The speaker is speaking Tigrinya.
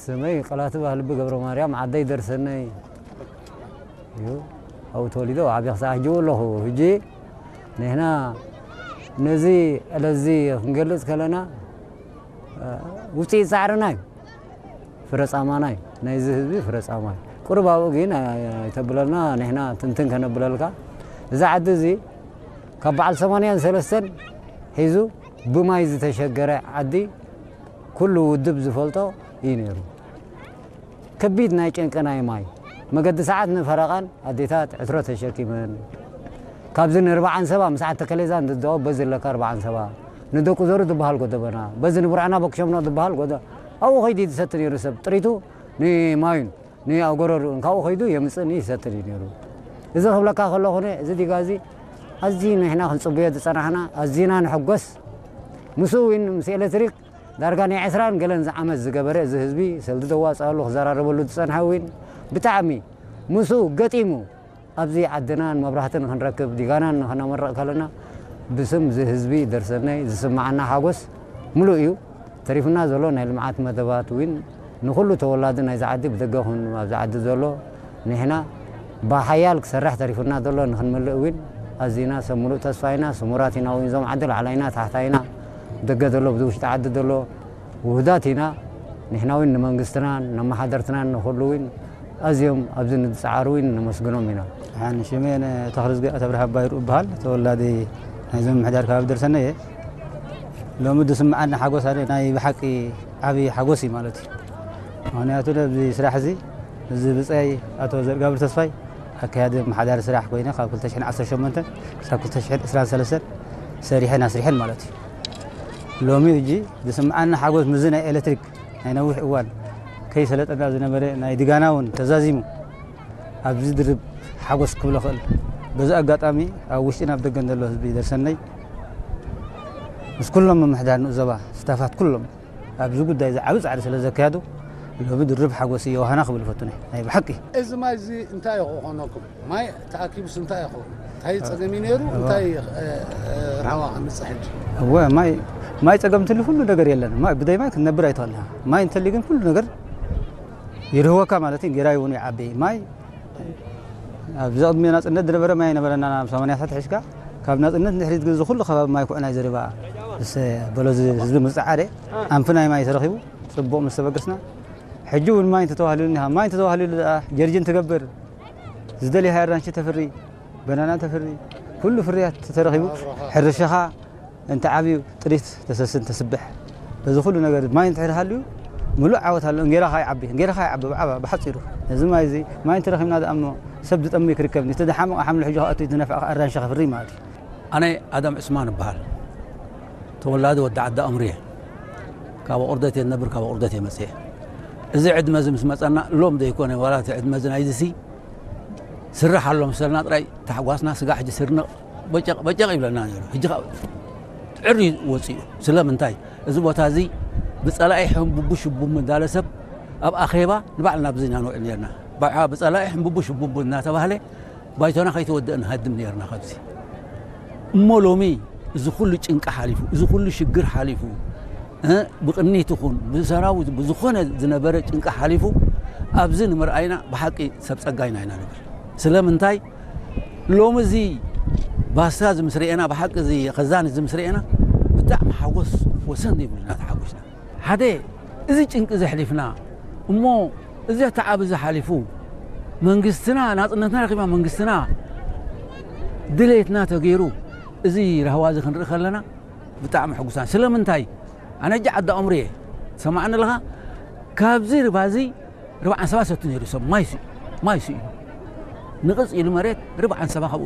ስመይ ቀላቲ ባህልቢ ገብረ ማርያም፣ ዓደይ ደርሰነይ እዩ። ኣብኡ ተወሊደ፣ ኣብኡ ዓብየ ክሳዕ ሕጂ እውን ኣለኹ። ሕጂ ንሕና ነዚ ዕለትዚ ክንገልጽ ከለና፣ እ፣ ውፅኢት ጻዕርና እዩ። ፍረ ጻማና እዩ። ናይዚ ህዝቢ ፍረ ጻማ እዩ። ቁሩብ ኣብኡ ግን ኣይተብለልና፣ ንሕና ትንትን ከነብለልካ። እዚ ዓዲ እዚ ካብ በዓል ሰማንያን ሰለስተን ሒዙ ብማይ ዝተሸገረ ዓዲ፣ ኩሉ ውድብ ዝፈልጦ እዩ ነይሩ። ከቢድ ናይ ጨንቂ ናይ ማይ መገዲ ሰዓት ንፈረቓን ኣዴታት ዕትሮ ተሸኪመን፣ ካብዚ ንርብዓ ዓንሰባ ምስ ዓዲ ተከሌዛን ዝደወ በዚ ኣለካ ኣርብዓ ዓንሰባ ንደቁ ዘሩ ዝበሃል ጎደበና፣ በዚ ንቡርዕና በክሸምኖ ዝበሃል ጎደ ኣብኡ ከይዱ ዝሰቲ ነይሩ ሰብ ጥሪቱ ንማዩን ንኣብ ጎረርኡን ካብኡ ከይዱ የምጽእን ይሰትን እዩ ነይሩ። እዚ ክብለካ ከለኹ፣ እዚ ዲጋ እዚ ኣዝዩ ንሕና ክንጽበዮ ዝጸናሕና፣ ኣዚና ንሕጎስ። ምስኡ እውን ምስ ኤሌክትሪክ ዳርጋ ናይ ዕስራን ገለን ዓመት ዝገበረ እዚ ህዝቢ ሰልዲ ዘዋጽኣሉ ክዘራረበሉ ዝጸንሐ እውን ብጣዕሚ ምስኡ ገጢሙ ኣብዚ ዓድና ንመብራህቲ ንኽንረክብ ዲጋና ንኽነመርቕ ከለና ብስም እዚ ህዝቢ ደርሰናይ ዝስምዓና ሓጎስ ምሉእ እዩ። ተሪፉና ዘሎ ናይ ልምዓት መደባት እውን ንኹሉ ተወላዲ ናይዚ ዓዲ ብደገ ኹን ኣብዚ ዓዲ ዘሎ ንሕና ብሓያል ክሰርሕ ተሪፉና ዘሎ ንኽንምልእ እውን ኣዚና ሰብ ምሉእ ተስፋ ኢና። ስሙራት ኢና እውን እዞም ዓዲ ላዕላይና ታሕታይና ደገ ዘሎ ብዚ ውሽጢ ዓዲ ዘሎ ውህዳት ኢና። ንሕና እውን ንመንግስትናን ነመሓደርትናን ንኹሉ እውን ኣዝዮም ኣብዚ ንዝጸዓሩ እውን ነመስግኖም ኢና። ሓን ሽሜን ተኽልዝጊ ኣተብርሃ ባይሩ እበሃል። ተወላዲ ናይዞም ምሕዳር ከባቢ ደርሰነ እየ። ሎሚ ዝስምዓኒ ሓጎስ ኣነ ናይ ብሓቂ ዓብዪ ሓጎስ እዩ ማለት እዩ። ምኽንያቱ ኣብዚ ስራሕ እዚ እዚ ብጻይ ኣቶ ዘርጋብር ተስፋይ ኣካያዲ መሓዳሪ ስራሕ ኮይነ ካብ ክልተ ሽሕን ዓሰርተ ሸሞንተን ክሳብ ክልተ ሽሕን ዕስራን ሰለስተን ሰሪሐን ኣስሪሐን ማለት እዩ። ሎሚ ሕጂ ዝስምዓኒ ሓጎስ ምዚ ናይ ኤሌክትሪክ ናይ ነዊሕ እዋን ከይሰለጠና ዝነበረ ናይ ድጋና እውን ተዛዚሙ ኣብዚ ድርብ ሓጎስ ክብሎ ክእል። በዚ ኣጋጣሚ ኣብ ውሽጥን ኣብ ደገን ዘሎ ህዝቢ ደርሰነይ ምስ ኩሎም ምምሕዳር ንኡስ ዞባ ስታፋት ኩሎም ኣብዚ ጉዳይ እዚ ዓቢ ጻዕሪ ስለ ዘካየዱ ሎሚ ድርብ ሓጎስ እዩ የውሃና ክብል እፈቱ ናይ ናይ ብሓቂ። እዚ ማይ እዚ እንታይ እዩ ክኾነኩም? ማይ ተኣኪቡስ እንታይ እዩ ክኸውን? እንታይ ጸገም እዩ ነይሩ? እንታይ፣ እ፣ እ፣ ራህዋ ከምጽእ ሕጂ? እወ፣ ማይ፣ ማይ ጸገም እንትሉ ኩሉ ነገር የለን። ማይ፣ ብደይ ማይ ክትነብር ኣይትኽእልን። ማይ እንተልዩ ግን ኩሉ ነገር ይርህወካ ማለት እዩ። ጌራ ይውን ይዓቢ። ማይ፣ ኣብዚ ቅድሚ ናጽነት ዝነበረ ማይ ነበረና፣ ናብ ሰማንያ ሳት ሒዝካ፣ ካብ ናጽነት ንድሕሪት ግን እዚ ኩሉ ከባቢ ማይ ኩዕናይ ዘሪባ፣ ምስ በሎ እዚ ህዝቢ ምስ ጸዓረ፣ ኣንፊ ናይ ማይ ተረኺቡ፣ ጽቡቕ ምስ ተበገስና፣ ሕጂ እውን ማይ እንተተዋህልሉ እኒሃ፣ ማይ እንተተዋህልሉ ደኣ ጀርጅን ትገብር፣ ዝደልያ ኣራንሺ ተፍሪ፣ በናና ተፍሪ፣ ኩሉ ፍርያት ተረኺቡ፣ ሕርሻኻ እንተ ዓብዩ ጥሪት ተሰስን ተስብሕ። በዚ ኩሉ ነገር ማይ እንድሕር ሃልዩ ምሉእ ዓወት ኣሎ። እንጌራኻ ይዓቢ፣ እንጌራኻ ይዓቢ ብዓባ ብሓጺሩ። እዚ ማይ እዚ ማይ እንተረኺብና ደኣ እሞ ሰብ ዝጠምይ ክርከብ፣ እቲ ዝሓመቐ ሓምሊ ሕጂ ክኣቱ፣ ዝነፍዐ ኣራንሺ ከፍሪ ማለት እዩ። ኣነ ኣዳም ዕስማን እበሃል። ተወላዲ ወዲ ዓዲ ኣምሩ እየ። ካብ ኣቑርደት እየ ዝነብር፣ ካብ ኣቑርደት እየ መጽየ። እዚ ዕድመ እዚ ምስ መጸና ሎም ዘይኮነ፣ ዋላ እቲ ዕድመ እዚ ናይዚ ሲ ስራሕ ኣሎ መሰልና ጥራይ ተሓጓስና፣ ስጋ ሕጂ ስርንቕ በጨቕ በጨቕ ይብለና ነይሩ። ሕጂ ኸኣ ጥዕር እዩ ወጺኡ። ስለምንታይ? እዚ ቦታ እዚ ብጸላኢ ሕንቡቡ ሽቡቡ እንዳለ ሰብ ኣብ ኣኼባ ንባዕልና ኣብዚ ኢና ንውዕል ነርና። ብዓ-፣ ብጸላኢ ሕንቡቡ ሽቡቡ እናተባህለ ባይቶና ከይተወደአ ንሃድም ነርና ካብዚ። እሞ ሎሚ እዚ ኩሉ ጭንቂ ሓሊፉ፣ እዚ ኩሉ ሽግር ሓሊፉ፣ እ፣ ብቕኒት ይኹን ብሰራዊት ብዝኾነ ዝነበረ ጭንቂ ሓሊፉ ኣብዚ ንምርኣይና ብሓቂ ሰብ ጸጋ ኢና ኢና ንብል። ስለምንታይ? ሎሚ እዚ ባስታ እዚ ምስ ርኤና፣ ብሓቂ እዚ ኸዛን እዚ ምስ ርኤና ብጣዕሚ ሓጎስ ወሰን ዘይብሉ ኢና ተሓጒስና። ሓደ እዚ ጭንቂ ዘሕሊፍና እሞ እዚ ተዓብ እዚ ሓሊፉ መንግስትና ናጽነትና ረኺብና መንግስትና ድሌትና ተገይሩ እዚ ራህዋ እዚ ክንርኢ ከለና ብጣዕሚ ሕጉሳን። ስለምንታይ? ኣነ እጂ ዓዲ ኣምሩ እየ። ሰማዕኒ ኣለኻ? ካብዚ ርባ እዚ ርብዓን ሰባ ሰቱ ነይሩ ሰብ ማይ ስኡ፣ ማይ ስኡ። ንቕጽ ኢሉ መሬት ርብዓን ሰባ ካብኡ